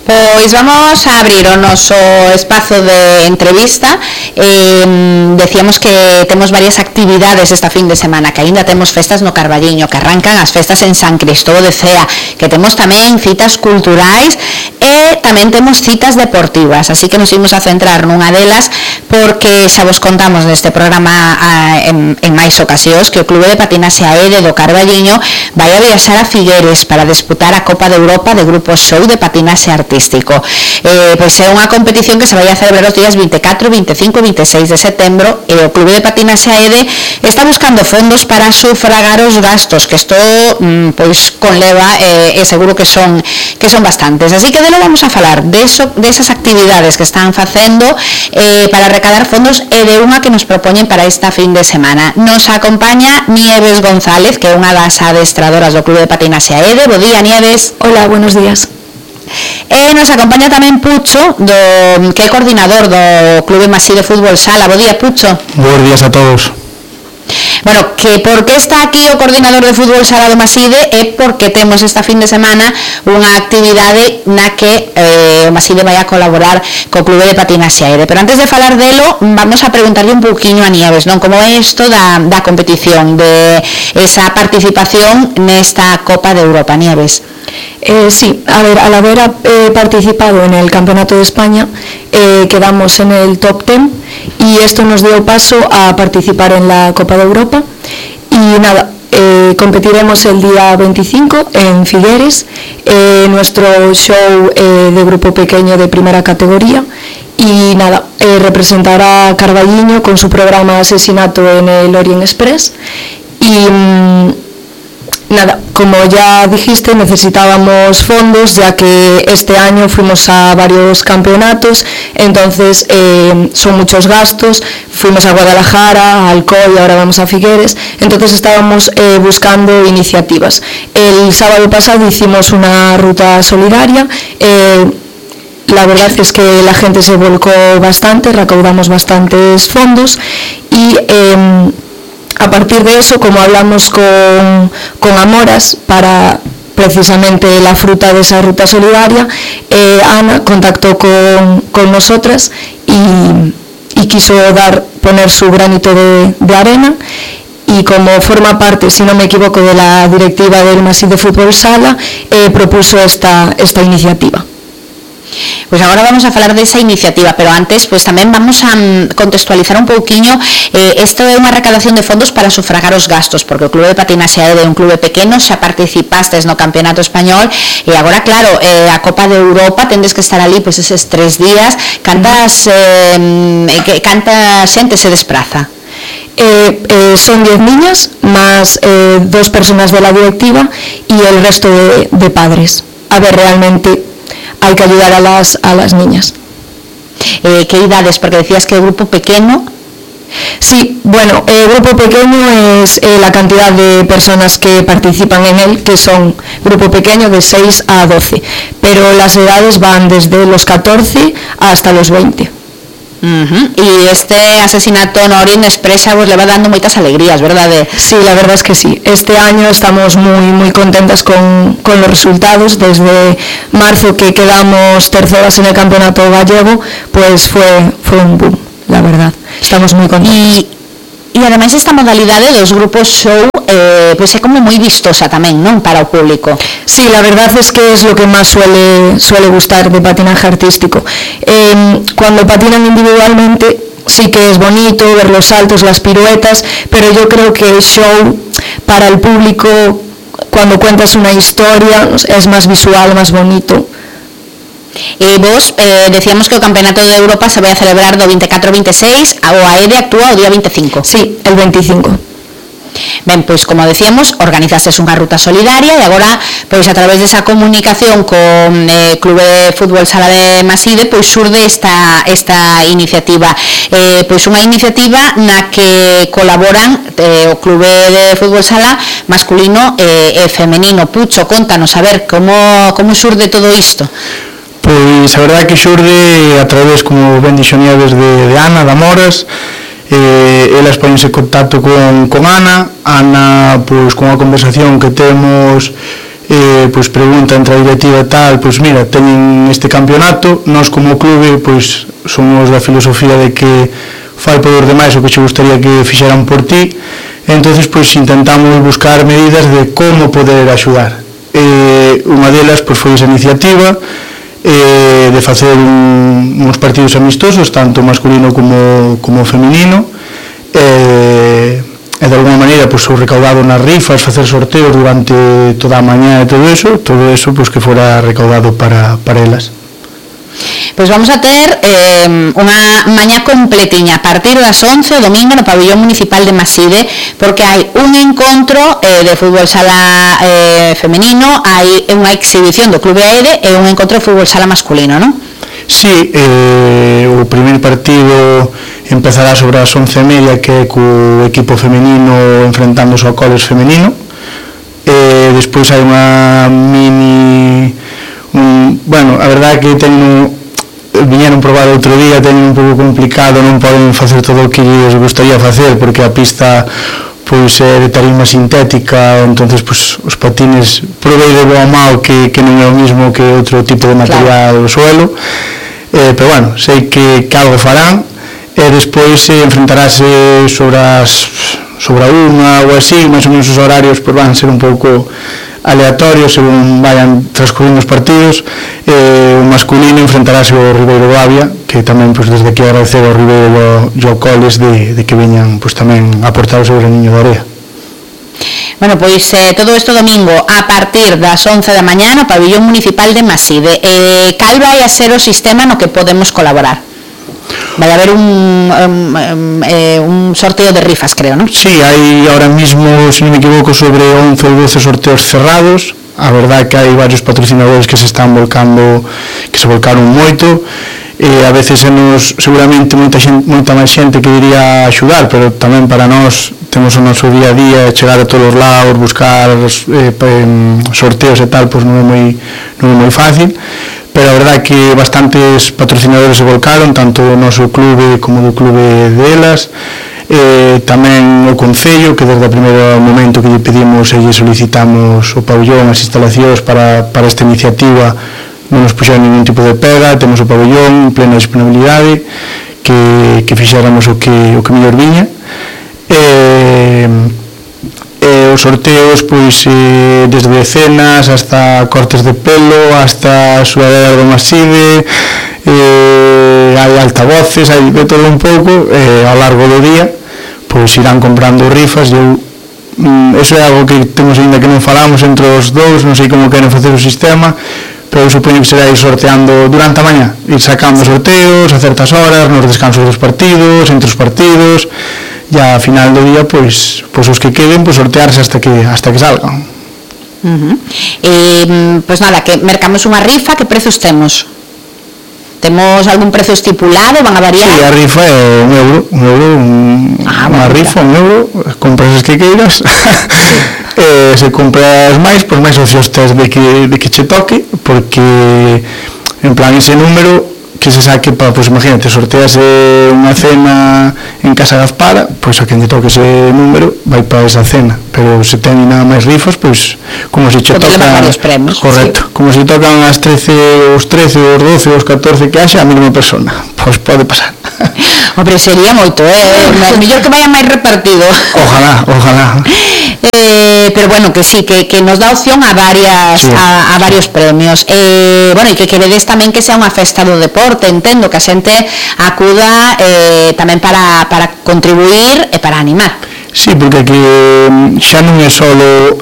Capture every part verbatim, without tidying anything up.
Pois vamos a abrir o noso espazo de entrevista. eh, Decíamos que temos varias actividades esta fin de semana, que aínda temos festas no Carballiño, que arrancan as festas en San Cristóbal de Cea, que temos tamén citas culturais e tamén temos citas deportivas, así que nos imos a centrar nunha delas porque xa vos contamos neste programa a, en, en máis ocasións que o Clube de Patinaxe A E D do Carballiño vai a viaxar a Figueres para disputar a Copa de Europa de Grupo Show de Patinaxe Artístico. Eh, pois é unha competición que se vai a celebrar os días vinte e catro, vinte e cinco e vinte e seis de setembro e o Clube de Patinaxe A E D está buscando fondos para sufragar os gastos, que isto mm, pois conleva eh, e seguro que son que son bastantes, así que de lo vamos a falar de, eso, de esas actividades que están facendo eh, para recaudar fondos e de unha que nos propoñen para esta fin de semana. Nos acompaña Nieves González, que é unha das adestradoras do Clube de Patinaxe A E D. Bo día, Nieves. Hola, buenos días. E nos acompaña tamén Pucho, do, que é coordinador do Clube Maside Fútbol Sala. Bo día, Pucho. Buenos días a todos. Bueno, que por que está aquí o coordinador de fútbol sala do Maside é porque temos esta fin de semana unha actividade na que eh, o Maside vai a colaborar co Clube de Patinaxe A E D. Pero antes de falar delo, vamos a preguntarle un pouquiño a Nieves, non? Como é isto da, da competición, de esa participación nesta Copa de Europa, Nieves? Eh, sí, a ver, al haber eh, participado en el Campeonato de España, eh, quedamos en el top diez y esto nos dio paso a participar en la Copa de Europa. Y nada, eh, competiremos el día veinticinco en Figueres, eh, nuestro show eh, de grupo pequeño de primera categoría. Y nada, eh, representará a Carballiño con su programa Asesinato en el Orient Express. Y mmm, nada, como ya dijiste, necesitábamos fondos, ya que este año fuimos a varios campeonatos, entonces eh, son muchos gastos. Fuimos a Guadalajara, a Alcoy, ahora vamos a Figueres, entonces estábamos eh, buscando iniciativas. El sábado pasado hicimos una ruta solidaria. eh, La verdad es que la gente se volcó bastante, recaudamos bastantes fondos y eh, a partir de eso, como hablamos con, con Amoras para precisamente la fruta de esa ruta solidaria, eh, Ana contactó con, con nosotras y, y quiso dar, poner su granito de, de arena. Y como forma parte, si no me equivoco, de la directiva del Maside Fútbol Sala, eh, propuso esta, esta iniciativa. Pois agora vamos a falar desa iniciativa, pero antes pois tamén vamos a contextualizar un pouquiño. eh, Isto é unha recadación de fondos para sufragar os gastos, porque o Clube de Patinaxe A E D é un clube pequeno, xa participastes no Campeonato Español e agora, claro, eh, a Copa de Europa tendes que estar ali pois eses tres días. Cantas, eh, que, canta xente se despraza? Eh, eh, son diez niñas más eh, dos personas de la directiva y el resto de, de padres. A ver, realmente hay que ayudar a las, a las niñas. Eh, ¿Qué edades? Porque decías que el grupo pequeño. Sí, bueno, el grupo pequeño es eh, la cantidad de personas que participan en él, que son grupo pequeño de seis a doce, pero las edades van desde los catorce hasta los veinte. Uh-huh. Y este asesinato no Orient Express vos le va dando moitas alegrías, verdad? Sí, la verdad es que sí. Este año estamos muy muy contentas con, con los resultados. Desde marzo, que quedamos terceras en el campeonato gallego, pues fue, fue un boom, la verdad. Estamos muy contentos. Y, y además esta modalidade dos grupos show eh, pues é como moi vistosa tamén, non? Para o público. Sí, la verdad es que es lo que más suele, suele gustar de patinaje artístico. Eh, cuando patinan individualmente sí que es bonito ver los saltos, las piruetas, pero yo creo que el show para el público, cuando cuentas una historia, es más visual, más bonito. E vos eh, decíamos que o Campeonato de Europa se vai a celebrar do vinte e catro ao vinte e seis, o A E D actúa o día vinte e cinco. Sí, el veinticinco. Ben, pois como decíamos, organizastes unha ruta solidaria e agora, pois a través desa comunicación con eh, Clube de Fútbol Sala de Maside, pois surde esta, esta iniciativa. Eh, pois unha iniciativa na que colaboran eh, o Clube de Fútbol Sala masculino e eh, femenino. Pucho, contanos, a ver, como, como surde todo isto? Pois a verdade é que xurde a través, como ben dixo Nieves, de, de Ana, de Amoras. Eh, elas ponense en contacto con, con Ana. Ana, pois con a conversación que temos, eh, pois pregunta entre a directiva tal, pois mira, teñen este campeonato, nós como clube pois somos da filosofía de que fai por os demais o que che gustaría que fixeran por ti, entonces pois intentamos buscar medidas de como poder axudar. Eh, unha delas pois foi esa iniciativa eh, de facer un, uns partidos amistosos, tanto masculino como, como feminino, eh, e de alguma maneira pois, o recaudado nas rifas, facer sorteos durante toda a mañá e todo eso, todo eso pois, que fora recaudado para, para elas. Pois vamos a ter eh, unha mañá completiña a partir das once o domingo no pabillón municipal de Maside, porque hai un encontro eh, de fútbol sala eh, femenino, hai unha exhibición do Clube Aede e un encontro de fútbol sala masculino, non? Sí, eh, o primeiro partido empezará sobre as once e media, que é co equipo femenino enfrentándose ao Coles femenino, e despois hai unha mini un, bueno, a verdade é que teño viñeron probar outro día, teñen un pouco complicado, non poden facer todo o que lles gustaría facer porque a pista pois é de tarima sintética, entonces pois, os patines provei de boa mao que, que non é o mismo que outro tipo de material do suelo, eh, pero bueno, sei que, que algo farán e despois se eh, enfrentarase sobre as sobre a unha ou así, máis ou menos os horarios pois van ser un pouco aleatorios según vayan transcurrindo os partidos. Eh, o masculino enfrentarase ao Ribeiro Bavia, que tamén pois, desde aquí agradecer ao Ribeiro e ao Coles de, de que veñan pois, tamén a aportar o seu graniño de area. Bueno, pois eh, todo isto domingo a partir das once da mañá no pabillón municipal de Maside. Eh, cal vai a ser o sistema no que podemos colaborar? Vai haber un, um, um, eh, un sorteo de rifas, creo, ¿no? Sí, hai ahora mismo, se non me equivoco, sobre once ou doce sorteos cerrados. A verdade é que hai varios patrocinadores que se están volcando, que se volcaron moito, e a veces nos, seguramente moita, xente, moita máis xente que iría axudar, pero tamén para nós temos o noso día a día, chegar a todos os lados, buscar eh, sorteos e tal, pois non é moi, non é moi fácil, pero a verdade é que bastantes patrocinadores se volcaron, tanto do noso clube como do clube delas, eh, tamén o Concello, que desde o primeiro momento que lle pedimos e lle solicitamos o pabellón, as instalacións para, para esta iniciativa, non nos puxeron ningún tipo de pega, temos o pabellón en plena disponibilidade, que, que fixéramos o que, o que mellor viña. Eh, eh, os sorteos pois eh, desde decenas hasta cortes de pelo, hasta sudaderas do Maside, eh, hai altavoces, hai de todo un pouco, eh, ao largo do día pois irán comprando rifas. Eu, mm, eso é algo que temos ainda que non falamos entre os dous, non sei como queren facer o sistema, pero eu supoño que será ir sorteando durante a mañá, ir sacando sorteos a certas horas, nos descansos dos partidos, entre os partidos, e a final do día pois, pois os que queden pois sortearse hasta que hasta que salgan. Uh-huh. E, pois nada, que mercamos unha rifa, que prezos temos? Temos algún prezo estipulado? Van a variar? Sí, a rifa é un euro, un euro, un, ah, unha bueno, rifa, un euro, compras as que queiras. eh, se compras máis, pois máis opcións tes de que, de que che toque, porque en plan ese número que se saque para, pois imagínate, sortease unha cena en Casa Gaspara, pois a quen lle toque ese número vai para esa cena, pero se ten nada máis rifas, pois como se che tocan varios premios, correcto, sí. Como se tocan as trece, os trece, os doce, os catorce que haxa a mesma persona, pois pode pasar. Hombre, sería moito, eh? Mellor que vaya máis repartido. Ojalá, ojalá. Eh, pero bueno, que sí, que, que nos dá opción a varias, sí, a, a varios premios. Eh, bueno, e que queredes tamén que sea unha festa do deporte, entendo que a xente acuda eh, tamén para, para contribuir e para animar. Sí, porque aquí xa non é só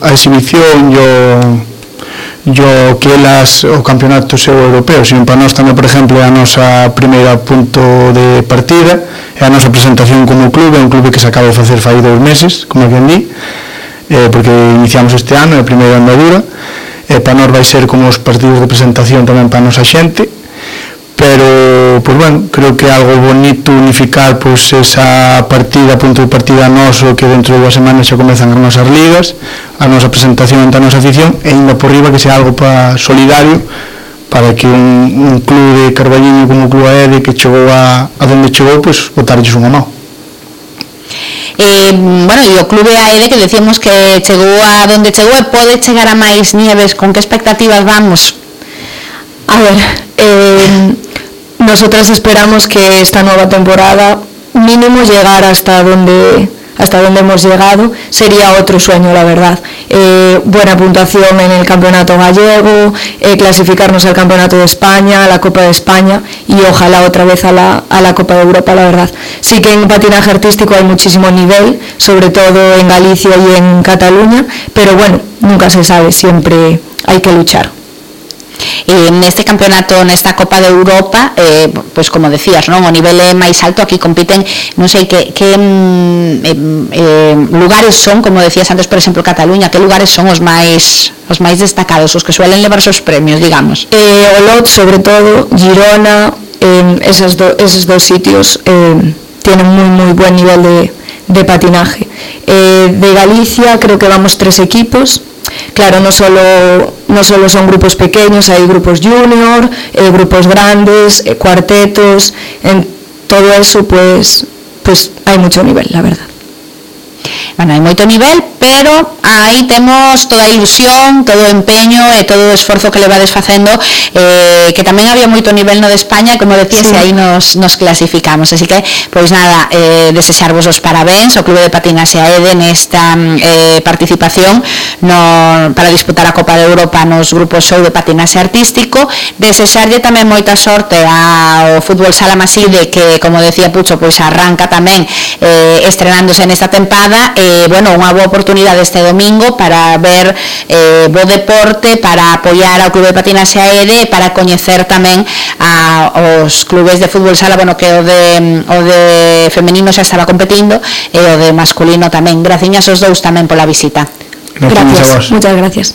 a exhibición e o, o que elas, o campeonato seu europeo, sino para nós tamén, por exemplo, é a nosa primeira punto de partida, é a nosa presentación como clube, é un clube que se acaba de facer fai dous meses, como quen di, eh, porque iniciamos este ano, é a primeira andadura, e para nós vai ser como os partidos de presentación tamén para a nosa xente, pero, pues bueno, creo que é algo bonito unificar pues, esa partida, punto de partida noso, que dentro de dúas semanas xa comezan as nosas ligas, a nosa presentación ante a nosa afición, e ainda por riba que sea algo para solidario, para que un, un club de Carballiño como o Club Aede que chegou a, a donde chegou, pues, botarlles unha mão. eh, bueno, e o Clube A E D que decíamos que chegou a donde chegou e pode chegar a máis nieves, con que expectativas vamos? A ver, eh, nosotras esperamos que esta nueva temporada mínimo llegar hasta donde hasta donde hemos llegado. Sería otro sueño, la verdad. Eh, buena puntuación en el campeonato gallego, eh, clasificarnos al campeonato de España, a la Copa de España y ojalá otra vez a la, a la Copa de Europa, la verdad. Sí que en patinaje artístico hay muchísimo nivel, sobre todo en Galicia y en Cataluña, pero bueno, nunca se sabe, siempre hay que luchar. Eh, neste campeonato, nesta Copa de Europa, eh, pois como decías, non, o nivel é máis alto, aquí compiten, non sei que, que eh, eh, lugares son, como decías antes, por exemplo, Cataluña, que lugares son os máis os máis destacados, os que suelen levar os premios, digamos? Eh, Olot, sobre todo, Girona, eh, esos, do, esos dos sitios eh, tienen muy muy buen nivel de, de patinaje. Eh, de Galicia creo que vamos tres equipos. Claro, no solo, no solo son grupos pequeños, hay grupos junior, eh, grupos grandes, eh, cuartetos, en todo eso pues, pues hay mucho nivel, la verdad. Bueno, hai moito nivel, pero aí temos toda a ilusión, todo o empeño e todo o esforzo que levades facendo, eh, que tamén había moito nivel no de España, como decías, sí. E aí nos, nos clasificamos, así que, pois nada, eh, desexarvos os parabéns ao Clube de Patinaxe A E D nesta eh, participación no, para disputar a Copa de Europa nos grupos show de patinaxe artístico, desexarlle tamén moita sorte ao Fútbol Sala Maside, que, como decía Pucho, pois arranca tamén eh, estrenándose nesta tempada, e Eh, bueno, unha boa oportunidade este domingo para ver eh, bo deporte, para apoiar ao Clube de Patinaxe A E D, para coñecer tamén a, os clubes de fútbol sala, bueno, que o de, o de femenino xa estaba competindo e o de masculino tamén. Graciñas aos dous tamén pola visita. Gracias, muchas gracias.